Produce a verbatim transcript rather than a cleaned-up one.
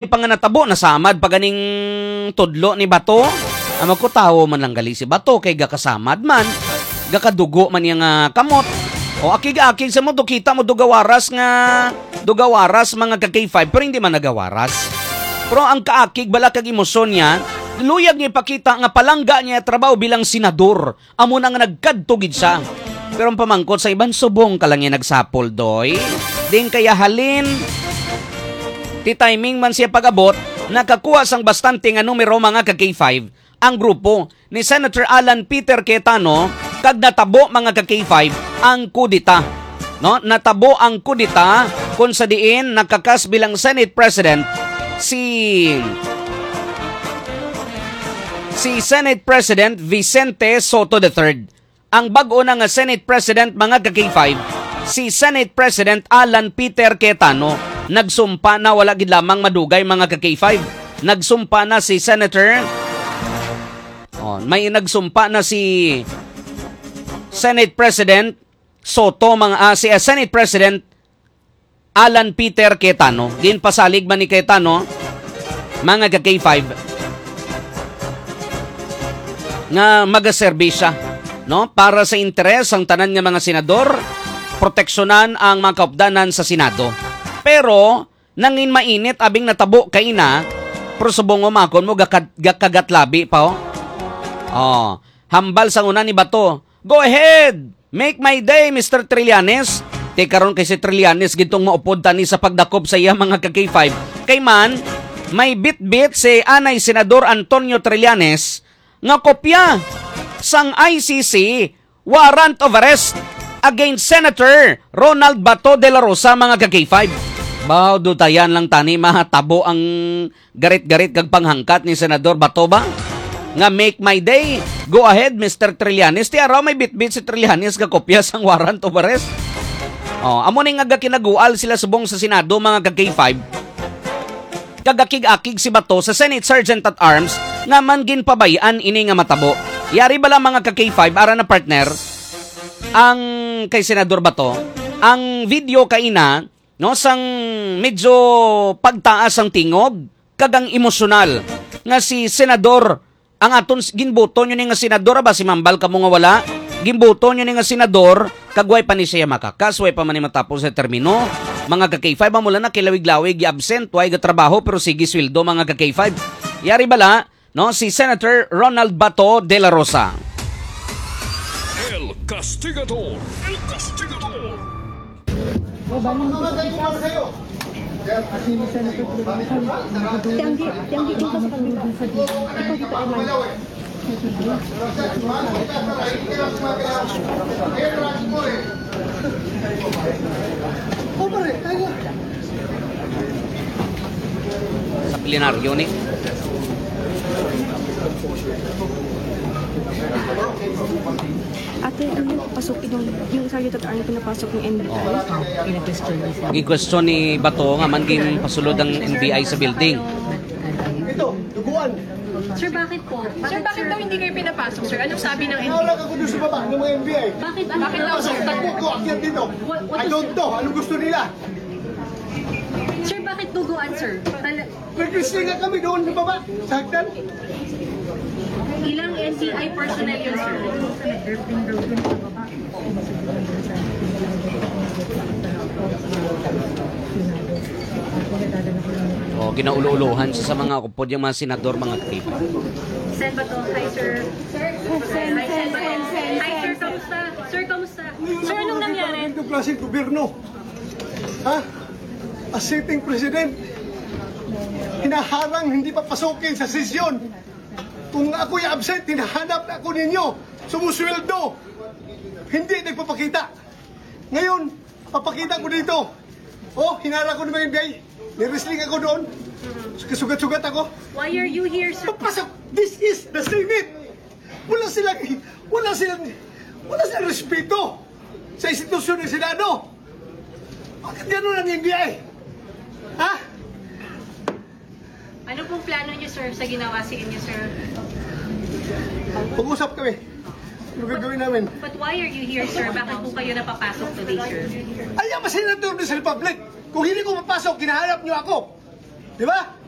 pa nga natabo, nasamad pa ganing tudlo ni Bato. Amo ko, tawo man lang gali si Bato kay gakasamad man, gakadugo man iya nga kamot. O, akig-akig sa mo, do kita mo, do gawaras nga, do gawaras, mga ka-K five, pero hindi man nagawaras. Pero ang kaakig bala kag emosyon niya, luyag niya ipakita nga palangga niya trabaho bilang senador. Amo na nga nagkadto gid siya. Pero ang pamangkot sa iban, subong ka lang niya nagsapol, doy. Din kaya halin, ti timing man siya pag-abot, nakakuha sang bastante nga numero, mga ka-K five, ang grupo ni Senator Alan Peter Cayetano, kag natabo, mga ka-K five, ang kudeta. No? Natabo ang kudeta kung sa diin nakakas bilang Senate President si, si Senate President Vicente Sotto the third. Ang bag-o na nga Senate President, mga ka-K five, si Senate President Alan Peter Cayetano, nagsumpa na, wala gid lamang madugay, mga ka-K five. Nagsumpa na si Senator, oh, may nagsumpa na si Senate President Sotto, mga, ah, si, ah, Senate President Alan Peter Cayetano. Ginpasalig man ni Cayetano, mga ka-K five, nga magaserbi siya, no, para sa interes sang tanan nga mga senador, proteksyonan ang mga kaupdanan sa Senado. Pero nangin mainit abing natabo kay na, pero subong mo makon mo gakad-, gakagatlabi pa, oh. Oh, hambal sang una ni Bato, "Go ahead! Make my day, Mister Trillanes." Ti karon kay si Trillanes gintong maupod tani sa pagdakop sa iya, mga ka-K five. Kay man, may bitbit si anay Senador Antonio Trillanes nga kopya sang I C C warrant of arrest against Senator Ronald Bato de la Rosa, mga ka-K five. Baw, dutayan lang tani, mahatabo ang garit-garit kag panghangkat ni Senador Bato ba? Nga, "Make my day. Go ahead, Mister Trillanes." Ti araw may bitbit si Trillanes nga kopya sang warrant of arrest. Oh, amo ni nga gakinagual sila subong sa Senado, mga ka-K five. Kag akig-akig si Bato sa Senate Sergeant at Arms nga man ginpabay-an ini nga matabo. Yari bala, mga ka-K five, ara na, partner, ang kay Senador Bato, ang video kaina, no, sang medyo pagtaas ang tingog kag ang emosyonal nga si Senador, ang aton s-, ginboto nyo ni nga senador, ba, si mambal kamo nga wala, ginboto nyo ni nga senador, kag way pa ni siya makakas, way pa man ni matapos sa termino. Mga ka-K five, amo lang na kilawig-lawig, gi-absent, way gatrabaho, pero sige sweldo, mga ka-K five. Yari bala, no, si Senator Ronald Bato de la Rosa. El Castigador. El Castigador. Tiyanggi, tiyanggi dito sa pagdito. Ikaw dito, Eman. Sa plenaryo ni. Ate, ano yung pasok yung, yung sa YouTube, ano pinapasok ng N B I? Oh. Gin-question ni Bato nga man ginpasulod ang N B I sa building. Ito, duguan. Sir, bakit po? Sir, bakit daw hindi kayo pinapasok, sir? Anong sabi ng N B I? Wala ka kuno sa baba ng mga N B I. Bakit po? Bakit daw, sir? Takbo ko, akyat dito. What, what I is don't know. Anong gusto nila? Sir, bakit duguan, sir? Tala- Nag-wrestling nga kami doon sa baba, sa hagdan. Ilang N B I personnel yun, sir? Oh, ginaulo-ulohan sa, sa mga upod yung mga senador, mga ka-K five. Sen Bato, hi, sir. Sen, Sen, Sen, Sen, Sen. Hi, sir, kamusta? Sir, kamusta? Sir, anong nangyari? Ganito klaseng gobyerno. Ha? A sitting president, hinaharang, hindi papasukin sa sesyon. Kung ako'y absent, hinahanap na ako ninyo. Sumusweldo. Hindi nagpapakita. Ngayon, papakita ko dito. Oh, hinarang ko ng mga N B I. Ni-wrestling ako doon. Kasugat-sugat ako. Why are you here, sir? Papasok. This is the Senate. Wala silang, wala silang, wala silang respeto sa institusyon ng Senado. Bakit ganun ang N B I? Ha? Ano pong plano niyo, sir, sa ginawa sa inyo, sir? Mag-usap kami. Ano gagawin namin? But why are you here, sir? Bakit po kayo napapasok today, sir? Ay, ang senador ng Republic. Kung hindi ko mapasok, hinahanap niyo ako. Di ba? Na